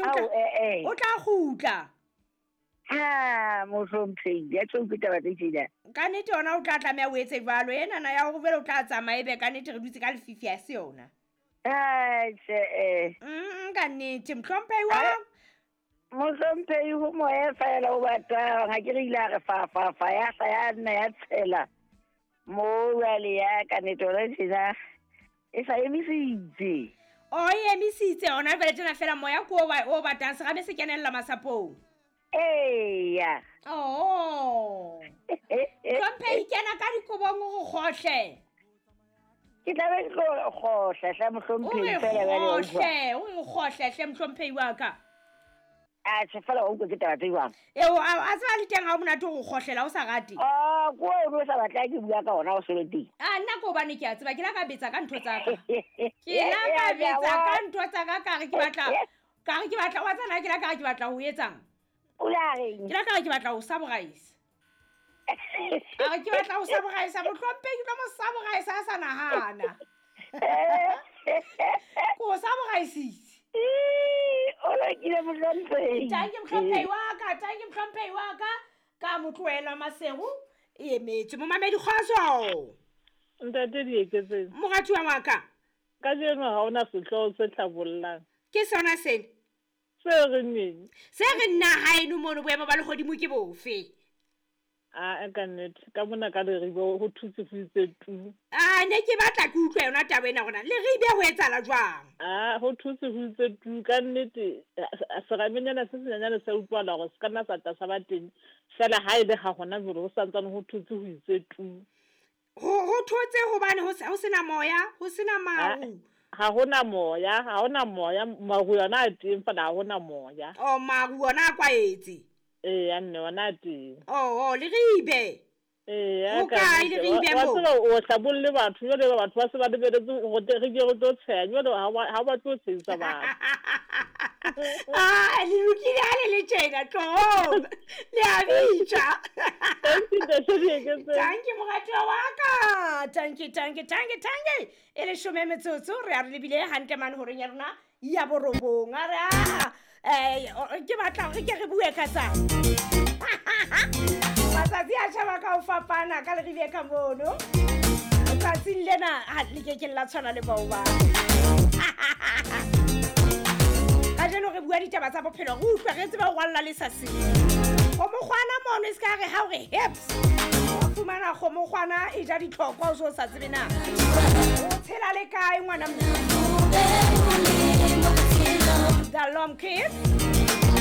Atjhe, o tla kgutla. Ha, mohlomphehi, ya tjho ke taba tse tjena. Ka nnete yona o tla tlameha o etse jwalo. Enana ya hore jwale o tla tsamaya ebe ka nnete re dutse ka lefifi ha se yona. Atjhe, eh. Ka nnete, mohlomphehi wa. Mohlomphehi ho moya fela o batang, ha ke re ile a re fa fa fa ya hla ya nna ya tshela. Mo jwale ya ka nnete hona tjena e sa emisitse. O e emisitse hona jwale tjena fela moya ke o batang serame se kenella masapong. Eya. Oh. Hlomphehi kena ka dikobong o re kgohle. Ke tla be ke tlo kgohla hle mohlomphehi fela jwale wa utlwa. O re kgohle hle mohlomphehi wa ka. Atjhe fela wa utlwa ke taba tse jwang. Eo a tseba le teng ha o monate ho kgohlela o sa rate. Ah, ko o sa batla ke bua ka ona o sele teng. Ah, nna ko hobane ke a tseba ke la ka betsa ka ntho tsa ka. Ke la ka betsa ka ntho tsa ka ka re ke batla ka re ke batla wa tsana ke la ka re ke batla ho etsang. O la reng? Ke la ka re ke batla ho saboraisa. A re ke batla ho saboraisa mohlomphehi ke tlo mo saboraisa a sa nahana. Ko saboraisitse. O lokile mohlomphehi. Tanki mohlomphehi wa ka, tanki mohlomphehi wa ka. Ka mo tlohela Maseru e emetse. Momamedi kgotso. Ntate Dieketseng. Moratuwa wa ka. Kajeno ha hona sehlooho se hlabollang. Ke sona sena. Se re neng? Se re nna haeno mono boemo ba lehodimo ke bofe? A ka nnete, ka mona ka Leribe ho thutse ho itse tu. A ne ke batla ke utlwe yona taba ena rona. Leribe ho etsahala jwang? A ho thutse ho itse tu ka nnete seramenyana se senyenyane sa utlwahala hore se ka nna sa tla sa ba teng. Fela ha e le ha hona jwale ho santsane ho thutse ho itse tu. Ho thotse hobane ho sena moya, ho sena maru. Ha hona moya, ha hona moya, maru yona a teng fela ha hona moya. Oh, maru ona a kwaetse. Ee, nne ona a teng. Oh, Leribe. Ee, o kae Leribe mo? Wa tseba o hlabolle batho jwale batho ba se ba lebeletse hore re ke re tlo tsheha jwale ha ba tlo tshehisa batho. Ah, le lokile ha le le tjena tlohong. Le a bitsa. Tanki moratuwa wa ka. Tanki, tanki, tanki, tanki. E leshome metsotso re a re lebile hantle mane horeng ya rona ya borobong. A re a ke batla hore ke re bue ka tsa. Matsatsi a tjhaba ka ho fapana ka Leribe ka mono. Tsatsing lena ha le ke ke la tshwana le bao ba. Kajeno re bua ditaba tsa bophelo, re utlwe re tsebe ho rwalla le sa seng. Kgomokgwana mono e se ka re ha o re hips. O fumana kgomokgwana e ja ditlhokwa o so sa tsebe na. O tshela le kae ngwana mme? The Lom Kids.